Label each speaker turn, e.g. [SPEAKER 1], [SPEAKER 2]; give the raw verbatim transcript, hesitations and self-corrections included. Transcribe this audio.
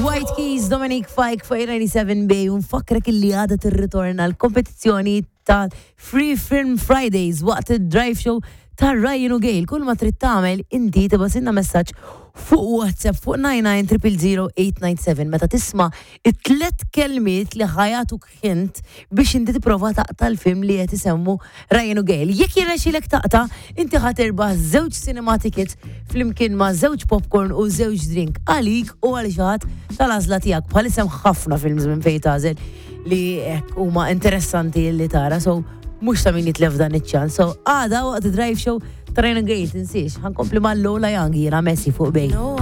[SPEAKER 1] White Keys, Dominic Fike fuq ninety-seven Bay, u nfakkrek illi għada tirritorna l-kompetizzjoni ta' Free Film Fridays waqt il-drive show ta' Ryan u Gail. Kull ma trid tagħmel inti tibgħatilna messaġġ fuq WhatsApp fuq nine nine zero zero zero eight nine seven meta tisma' it-tlet kelmiet li ħa jagħtuk hint biex inti tipprova taqta' l-film li qed isemmu Ryan u Gail. Jekk jirnexxilek taqta', inti ħa tirbaħ żewġ cinema tickets flimkien ma' żewġ popcorn u żewġ drink għalik u għal xi ħadd tal-għażla tiegħek. Bħalissa hemm ħafna films minn fejn tagħżel li hekk huma interessanti li tara. So mhux ta' min jitlef dan iċ-ċans. So għada waqt drive show ta' Ryan u Gail, tinsiex, ħa nkompli ma' Lola Young, jiena Messi fuq Bay.
[SPEAKER 2] No.